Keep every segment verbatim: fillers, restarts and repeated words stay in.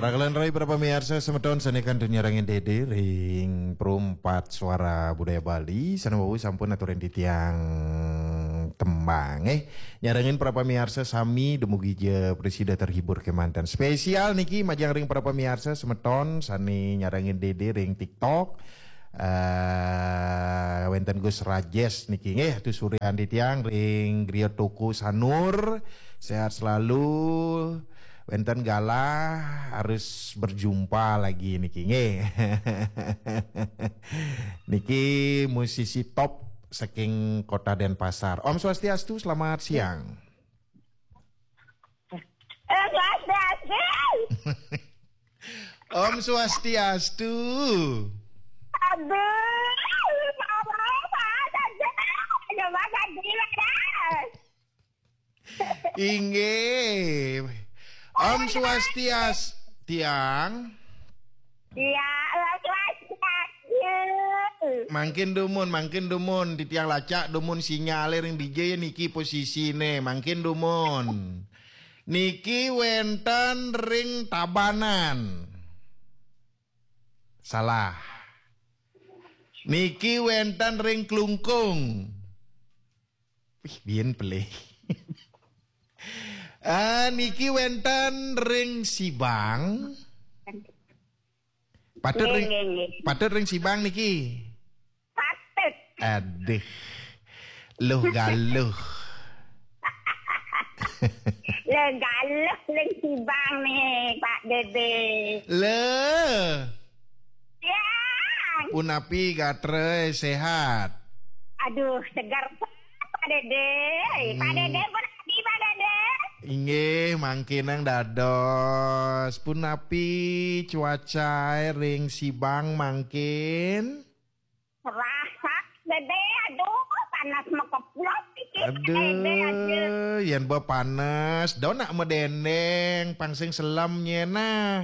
Rakalan rai para pamiarsa semeton sané kantun nyarengin Dédé ring Perumpat Suara Budaya Bali, sané wau sampun aturin titiang tembang, eh. Nyarengin para pamiarsa sami dumugi ja prasida terhibur kemanten. Spesial niki majeng ring para pamiarsa semeton sané nyarengin Dédé ring TikTok. Eh, wénten Gus Rajes niki nggih, aturin titiang ring Griya Toko Sanur. Sehat selalu. Wénten galah harus berjumpa lagi niki nggih. Niki musisi top saking Kota Denpasar. Om Swastiastu, selamat siang. Eh, Swastiastu. Om Swastiastu. Aduh, mama, mama, mama, mama, mama. Inggih. Om Swastiastu, tiang. Iya, Om Swastiastu. Mangkin dumun, mangkin dumun. Titiang lacak dumun sinyalé ring dija niki posisiné. Mangkin dumun. Niki wénten ring Tabanan. Salah. Niki wénten ring Klungkung. Wih, biyen pelih. Ah, niki wénten ring Sibang. Patut ring, nggih, nggih. Patut ring Sibang niki. Patut. Aduh. Luh galuh. Luh galuh ring Sibang nih, Pak Dédé. Lho. Ya. Punapi gatra, sehat? Aduh, seger, Pak Dédé. Pak Hmm. Dédé, punapi, Pak Dédé? Inggih, mangkin nang dados. Punapi cuaca ring Sibang mangkin? Rasak, Dédé, aduh, panas makeplok iki, Pak Dédé, aduh. Aduh, yén ba panas, donak madéndéng, pang sing selem nyén nah.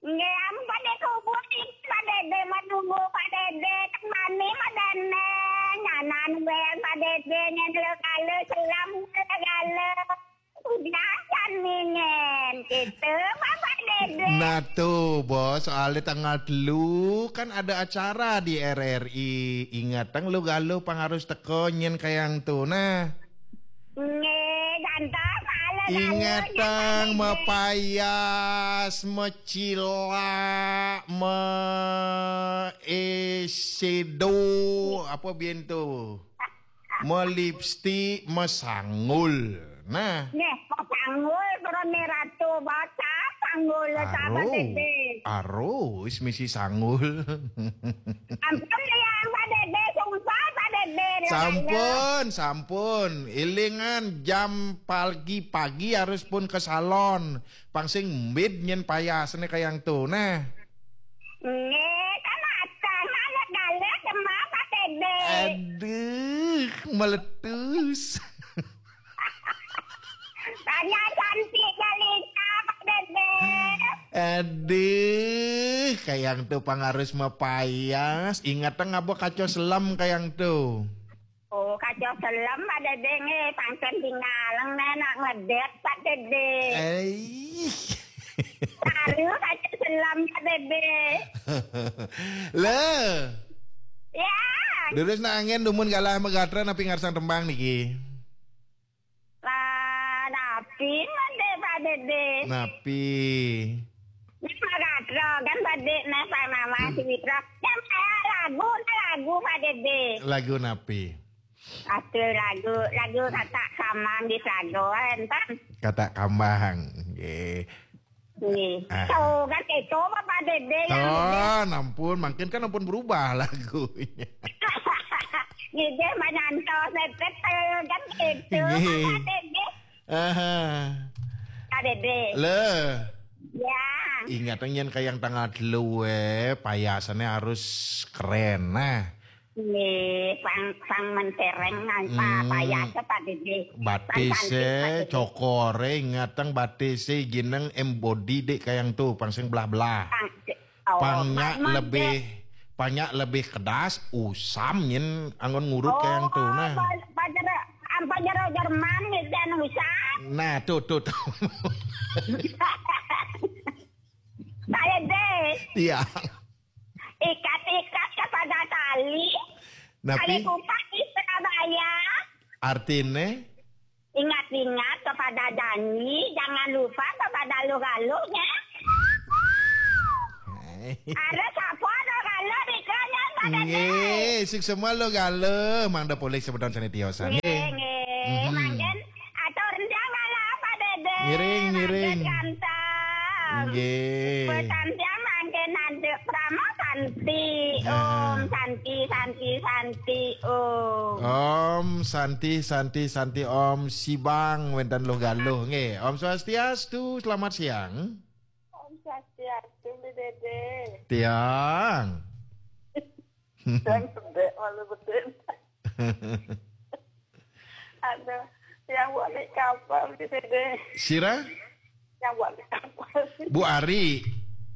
Nggih, ampun, Dédé, kubur iki, Pak Dédé, menunggu Pak Dédé, temani madéndéng, nyanan wéng Pak Dédé, nyén lho kala, selem lho kala. Udah kan mingin, gitu, Bapak Dédé. Nah tuh, Bos, soalnya tanggal telu kan ada acara di R R I. Ingatang lu galuh pang harus teka nyén kayang tuh. Nah. Nggih, ganteng, malah galuh, Ingatang nyén, Pak Dédé. Mapayas, macilak, ma eyeshadow, apa biyen tuh? Melipstik, mesanggul. Nah. Nggih, mesanggul, Brone Ratu, bocah sanggul, sahabat Aro. Dédé. Aro, wis misi sanggul. Ampun, ya, Pak Dédé, sumpah, Pak Dédé, ya, Sampun, sampun. Ilingan jam pagi-pagi harus pun ke salon. Pang sing mbid nyén payasné kayang to, nah. Nggih, kan mateng, alat galuh, demam, Pak Dédé. Aduh, meletus. Tanya cantik jelita, Pak Dédé. Aduh, kayang to pang harus mapayas. Ingat ngaba kaca selem kayang to. Oh, kaca selem, Pak Dédé, nggih, pangcén tingalang, né, nak ngedét, Pak Dédé. Eh. Baru kaca selem, Pak Dédé. Lho. Ya. Durus nak angin dumun galah magatra napi ngarsang tembang niki? Lah, napi, Pak Dédé? Napi? Nek magatra kan Pak Dédé, nek Pak Mama, hmm, si Witra. Kan saya lagu, lagu, Pak Dédé. Lagu napi? Aduh, lagu, lagu Katak Kamang di Sago, enten. Katak Kamang, nggih. Nggih. Ah. Tuh, kan itu, Pak Dédé, yang Tuh, ampun, mangkin kan ampun berubah lagunya. Nggih, manyantos, nepet, eh, kan itu, nggih, Pak Dédé. Aha. Pak Dédé. Lho. Ya. Ingat nyén kayang tanggal telu, eh, payasané harus keren. Nah. Nggih, pang, pang mentereng, nah, pa-, hmm, payasa, Pak Dédé. Batisé, pang cantik, Pak Dédé. Cokoré, ingatang batisé, gineng embody dék kayang to, pang sing belah-belah. Pang, oh, pang nyak lebih, pang nyak lebih kedas, usam nyén anggon ngurut kayang to, nah. Oh, pa-, pajero, am, pajero Jerman, gitu, anu, usam. Nah, tuh, tuh, tuh. Iya. Ikat-ikat kepada tali. Napi? Kali kupat di Surabaya. Artine? Ingat-ingat kepada janji, jangan lupa kepada lu-galuhnya. Ada siapa lu-galuh di kanya, Pak Dede? Nggih, sing semua lu-galuh, mangda polih semeton sane tiosan. Nggih, nggih. Mangkin atur jangan apa, Dede? Ngiring, ngiring. Ganteng. Nggih. Pesan tiang mangkin ada Prama Santi. Om Santi, Santi, Santi, Om. Om Santi, Santi, Santi, Om. Sibang wenten lu-galuh, nggih. Om Swastiastu, selamat siang. Om Swastiastu, Bli Dede. Tiang. Dan sedek malu betul. Aduh, yang buat di kapal, Bli Dede. Sira? Yang buat di kapal. Bu Ari.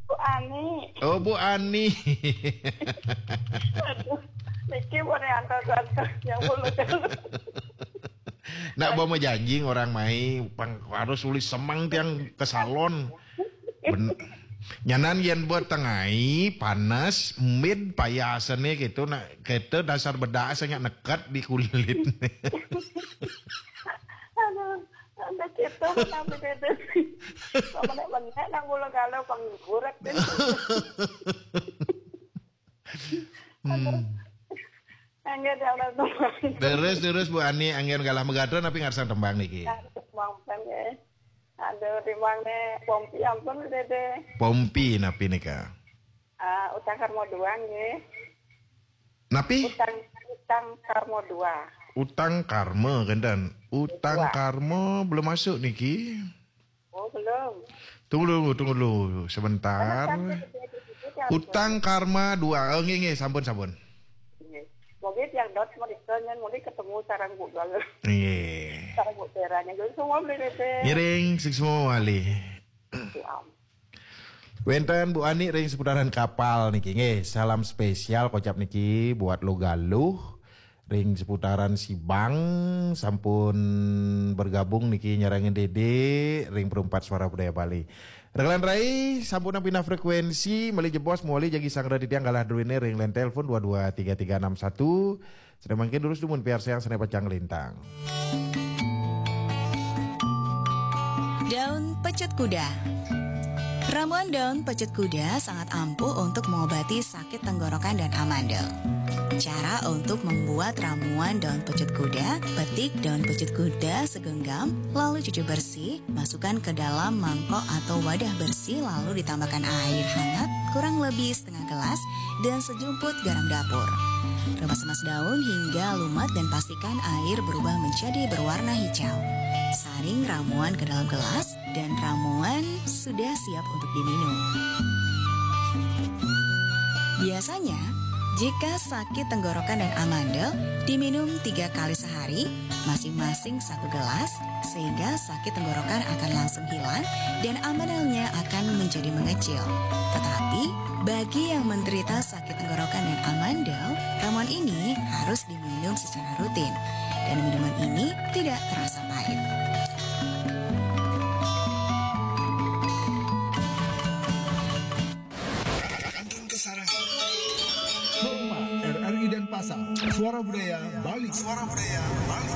Bu Ani. Oh, Bu Ani. Aduh, niki boleh antar-antar yang boleh. Nak bawa janji orang mai, pang harus uli semang tiang ke salon. Ben, nyanan yen buat tengai, panas, mid, payasane gitu, nak kita dasar bedak sangat nekat di kulit. Aduh, sampai kita sampai beda. Kok menek-menek nang mula kalau penggurat deh. Hmm. Angger dalam tembang. Terus, terus Bu Ani, angger galah megadra tapi ngarsang tembang niki. Nah, tembang kan ya. Ada tembang nih, Pompi ampun, Dede. Pompi napi nika? Ah, utang karma dua nggih. Napi? Utang, utang karma dua. Utang karma, kenten. Utang Dua. Karma belum masuk niki. Oh, belum. Tunggu dulu, tunggu dulu sebentar. Karena sampai di sini kan Utang karma dua. Oh, nggih, nggih, sampun, sampun. Nggih. Mungkin yang dot mereka nyen mungkin ketemu sarang Bu Gal. Nggih. Sarang Bu Teranya. Jadi semua beli Dede. Ngiring, sing semua wali. Siap. Wenten Bu Ani ring seputaran kapal niki nggih. Salam spesial kocap niki buat lu-galuh ring seputaran Sibang sampun bergabung niki nyarengin Dede ring Perumpat Suara Budaya Bali. Rekan rai sampun pindah frekuensi, malih jebos mawali jagi sangra titiang galah druene ring line telepon dua dua tiga tiga enam satu. Sane mangkin durus dumun piarsayang sane pacang lintang. Daun pecut kuda. Ramuan daun pecut kuda sangat ampuh untuk mengobati sakit tenggorokan dan amandel. Cara untuk membuat ramuan daun pecut kuda: petik daun pecut kuda segenggam, lalu cuci bersih, masukkan ke dalam mangkok atau wadah bersih, lalu ditambahkan air hangat kurang lebih setengah gelas dan sejumput garam dapur. Remas-remas daun hingga lumat dan pastikan air berubah menjadi berwarna hijau. Saring ramuan ke dalam gelas dan ramuan sudah siap untuk diminum. Biasanya, jika sakit tenggorokan dan amandel, diminum tiga kali sehari, masing-masing satu gelas, sehingga sakit tenggorokan akan langsung hilang dan amandelnya akan menjadi mengecil. Tetapi, bagi yang menderita sakit tenggorokan dan amandel, ramuan ini harus diminum secara rutin. Dan minuman ini tidak terasa pahit. Hormat R R I Denpasar, Suara Budaya Bali. Suara Budaya Bali.